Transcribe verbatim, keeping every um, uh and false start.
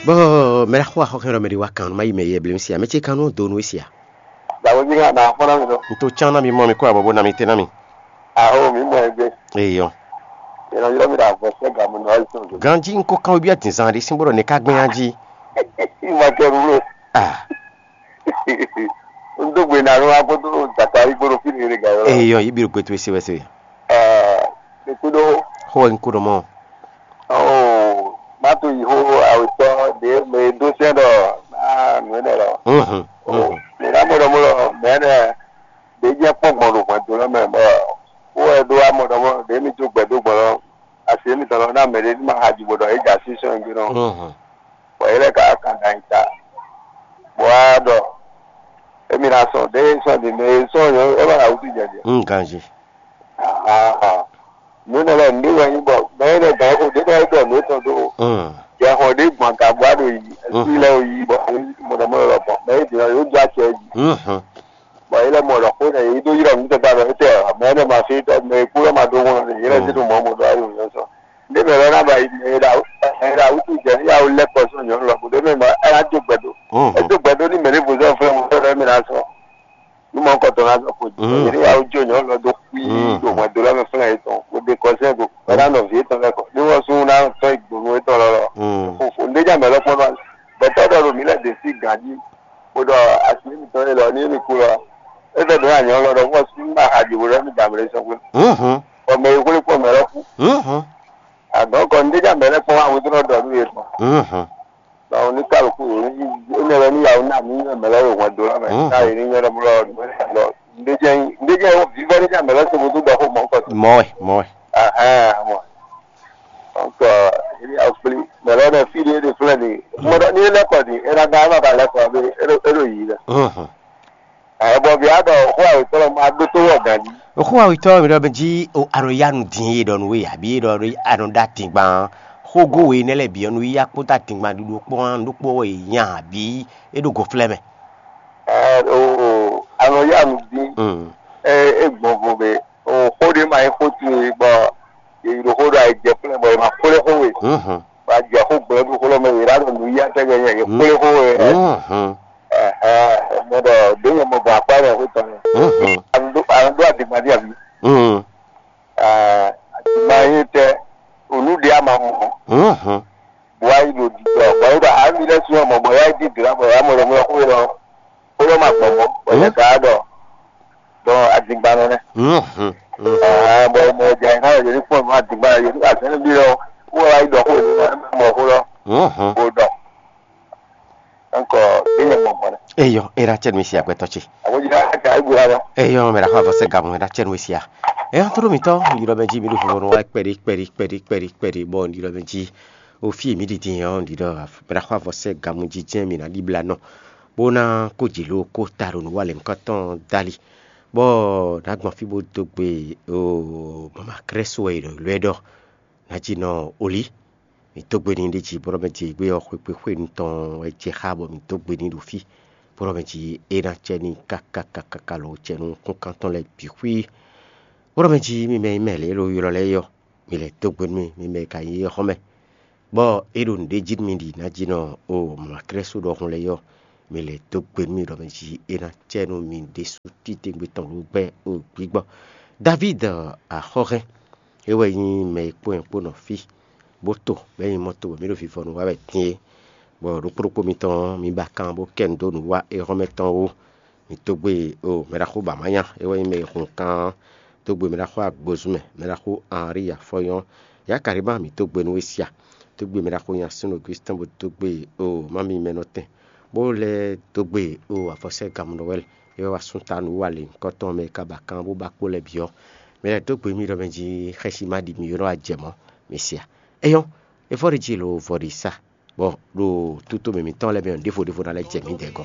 Bɔ mɛ ɖaxó axɔxɛ ɖɔ mɛ ɖé wá kan nú má yi mɛ yɛ blém sia mɛ ce kan nú donu e sia. Dàbọ̀ bí ká nà fọ́nrán mi lọ. N tó tsán ná mi mɔ mi kó abɔbɔ ná mi tɛ ná mi. Àhó mi mọ̀ ẹgbẹ́. Eyɔ. Ìrànlọ́wọ́ mi rà bọ̀ sẹ́ gàmù náà ọ̀sán. Ganji n kó kan obi atin zan ɖé sín bó ɖɔ ne ká gbɛn anji. Ìmọ̀ kẹrù ló. Ah. N dó gbe nànú akótó Zakari gbódò fí nìyẹn gà yọ. Eyɔ yi bi ɖo gbɛtú ese wɛsɛ. Ɛɛ, mi kúɖó. Xó wɛ n kó ɖɔ mɔ. Ɔɔ, má tó yi xó awetɔ ɖě mɛ e dó sɛn ɖɔ ná nǔ énɛ́ lɔ. Mhm. Mɛ ná mɔ ɖɔ mɔ ɖɔ mɛ énɛ́ ɖě jɛ kpɔ́n gbɔn ɖo hwɛndo lɔ mɛ bɔ wó wɛ ɖó amɔ ɖɔ mɔ ɖě mi jó gbɛ dó gbɔn lɔ asi émi tɔn lɔ ná mɛ ɖé ní ma xa ji bó ɖɔ é jɛ así sɔn gbé nɔ. Mhm. Bɔ é lɛ́ ka kan ɖo anyi ta bɔ wá ɖɔ émi ná sɔn ɖě sɔn ɖě mɛ e sɔn nyɔ é ma ɖo awútu jɛ jɛ. N ganji. Nǔ énɛ́ lɛ́ɛ nǔɖé wɛ nyí bɔ mɛ énɛ́ gǎn xo ɖě bɔ é ɖɔ nǔ étɔn dó. Mm. Jɛ xɔ ɖě gbɔn aga bɔ a ɖo yi, sí lɛ́ɛ yi bɔ mɔɖɔmɔɖɔ lɔ bɔ mɛ é ɖě yó dó acɛ jí. Mhm. Bɔ yě lɛ́ mɔ ɖɔ xó nɛ yě dó ylɔ́ nǔ tɛgbɛ ɖɔ étɛ mɛ énɛ́ ma fí tɔ mɛ e kú lɔ ma ɖó wɔn nɛ yě lɛ́ zé ɖo mɔ̌ mɔ ɖɔ ayɔ yɔ sɔ. Ndé mɛ lɔ ná ba yi mɛ e ɖo awútu jɛ ní awu lɛ́ kɔ sɔ́ nyɔ̌nu lɔ bó ɖé mɛ mɔ é ná dó gbɛ dó. Mhm. É dó gbɛ dó ní mɛ ɖěvo zɔ́n flɛ́ mɔ fɛ́ mɛ ná sɔ́. Ní mɔ kɔtɔn ná zɔn xo jí. Mm. Ní awu jó nyɔ̌nu lɔ dó kpí Mm. Ɖo hwɛndo lɔ mɛ flɛ́ yětɔn bó ɖe kɔsɛ́ go. Mm. Bó ná nɔ vǐ yětɔn lɛ́ kɔ. Ní wọ́n sún ná tɔ́ yi gbonu yětɔn lɔ lɔ. Mm. Fofo ndé jẹ́ mɛ lɔ kpɔ́n nɔ. Bɛtɔ́ ɖɔ ɖo mǐ lɛ́ ɖě sí gǎn jí. Bó ɖɔ asi mitɔn e lɔ ní mi kú lɔ. É fẹ́ ɖǒ anyɔ lɔ ɖɔ wọ́n sún ná hajě bó ɖɔ mí dǎmlé sɔ́ gbé. Mhm. Bɔ mɛ e hwlé kpɔ́n mɛ lɔ kú. Mhm. Àdɔ̌ kɔ ndé jẹ́ mɛ lɛ́ kpɔ́n wá wútu nɔ ɖɔ nú yě tɔn. Mhm. Báwo ní kálukú yìí ní énɛ́ wɛ ní yàwó náà ní yàn mɛ lɛ́ wò hwɛn dó lɔ mɛ. Mhm. Káyé ní nyɔ́ ɖɔmɔ lɔ. Ndéjɛ ndéjɛ vívɛ́ ní jàn mɛ lɛ́ sɔmɔ tó dɔ xó mɔ kɔ. Mɔɛ mɔɛ. Ahɛn mɔ. Donc èyí akpli mɛ lɛ́ nɛ fí ɖé ɖe flɛ́ ni. Mɔ ɖɔ ní é lɛ́ kɔ ni é ná gán é má ba lɛ́ kɔ abé é ɖo yǐ lɛ. Mhm. Ɛ bɔ vǐ aɖɔ xó awětɔ́ lɔ ma ɖótó wɔ gǎn jí. Xó awětɔ́ mi ɖɔ mɛ jí o aɖɔ yá nu dín e ɖɔ nú we abǐ e ɖɔ aɖɔ ɖó atingban xógó we nɛ́ lɛ́ɛ bǐ ɔ́ nu yíyá kpódó atingban ɖuɖu kpɔ́n ɖokpó wɛ nya abǐ é ɖo go flɛ́ mɛ. Ɛ o aɖɔ yá nu dín. Mm. Ɛ é gbɔn vo mɛ o xó ɖé ma nyí xó towe bɔ yě yi ɖo xó ɖɔ ayǐjɛ́ flɛ́ bɔ è ma xwlé xó we. Mhm. Bɔ a jɛ xó gblɛ́ ɖo xó lɔ mɛ yě ɖo aɖɔ nǔ yíyá tɛgbɛ nyɛ yě xwlé xó we. Mhm. Ɛhɛn, mɛ ɖɔ ɖě nyɛ mɔ gbɔn akpá mɛ xwé tɔn mɛ. Mhm. Anu ɖó anu ɖó adigba ní abi. Mhm. Ɛɛ, adigba yín tɛ onú ɖé ama mɔ. Mhm. Bɔ ayi ɖo ɖiɖɔ bɔ yí ɖɔ ami lɛ sún ɔmɔ bɔ yá yi dí dra bɔ yá mɔ ɖɔ mɔ xwé lɔ xwé lɔ ma gbɔn mɔ bɔ yɛ ka ɖɔ dɔn adigba nɔ nɛ. Mhm. Mhm. Ɛɛ, bɔ mɔ jɛ ká yɛ ní kpɔn mɔ adigba yɛ ní azɛn bi lɔ wɔ ayi ɖɔ xwé lɔ mɔ xwé lɔ. Mhm. Bó ɖɔ. Nkɔ ɖé nyɛ gbɔn gbɔn. Eyɔ era tsɛ nu sia gbɛtɔ tsi. Àwọn jìnnà aka ibu la lọ. Eyɔ mɛ ɖaxɔ avɔ sɛ gamu era tsɛ nu sia. Eyɔ toro mi tɔ yɔrɔ bɛ dzi mi ɖo fufɔ nɔ wa kpɛɖi kpɛɖi kpɛɖi kpɛɖi kpɛɖi bɔ yɔrɔ bɛ dzi. O fi mi ɖiɖi yɔ ɖi ɖɔ mɛ ɖaxɔ avɔ sɛ gamu dzi jɛ mi na ɖi bla nɔ. Bó ná kó dzi lo kó ta ɖo nǔ wa lɛ nukɔ tɔn dali. Bɔ ɖagbɔn fi bó dó gbe o mama krɛso e ɖɔ lɔ ɛ ɖɔ. Ná dzi nɔ oli. Mi dó gbe n'i ɖ'é jí bó nɔ́ mɛ din gbé ɔ́ xwekpé xwenu tɔn wɛ jɛ xá bɔ mi dó gbe n'i ɖo fí, bó nɔ́ mɛ din é ná cɛ n'i káká káká lǒ cɛ nú kúnkan tɔn lɛ́ɛ bǐ xwí. Bó nɔ́ mɛ din mi mɛ e mɛ lě e ɖo ylɔ́ lɛ́ɛ é ɔ́, mi lɛ́ dó gbe nú mì, mi mɛ e ka nyí éhɔ́mɛ, bɔ é ɖo nǔɖé jí nú mi ɖi ná jí nɔ o mlɔ̌atlɛ́sú ɖɔhun lɛ́ɛ é ɔ́, mi lɛ́ dó gbe nú mì ɖɔ mɛ din é ná cɛ nú mi ɖésú titewungbe tɔn ɖó gbɛ́ o gbǐgbɔ. Davíd axɔ́hɛn, é wɛ nyí mɛ e kpó nyɛ kpó nɔ fí, bó to bɔ é nyí mɔ to bɔ mǐ ɖo vivɔnu wa wɛ din é. Bɔ ɖokpó ɖokpó mitɔn ɔ́, mi ba kan bó kɛ nu dó nǔ wa éhɔ́mɛ tɔn wú. Mi dó gbe o mɛɖaxó Bamanya, é wɛ nyí mɛ e hun kan ɔ́, dó gbe mɛɖaxó Agbozúmɛ, mɛɖaxó Henri Afɔnyɔ́, Yakalima mi dó gbe nú we sia, dó gbe mɛɖaxó Nyasúnɔ Augustin bó dó gbe o mami mɛnɔtɛn, bó lɛ́ dó gbe o avɔsɛ́ Gamunɔwɛ́li, é wɛ wá sú ta nǔ wa lěhunkɔtɔn mɛ e ka ba kan bó ba kpó lɛ́ɛ bǐ ɔ́, mi lɛ́ dó gbe mì ɖɔ mɛ jí xɛsi ma ɖi mi ylɔ́ ajɛ mɔ̌, mi sia. É nyɔ́, é vɔ́ ɖi jí lo vɔ ɖi sa, bɔ ɖo tutomɛ mǐtɔn lɛ́ɛ mɛ ɔ́, ɖěvo ɖěvo ná lɛ́ jɛ mǐdɛɛ gɔ́.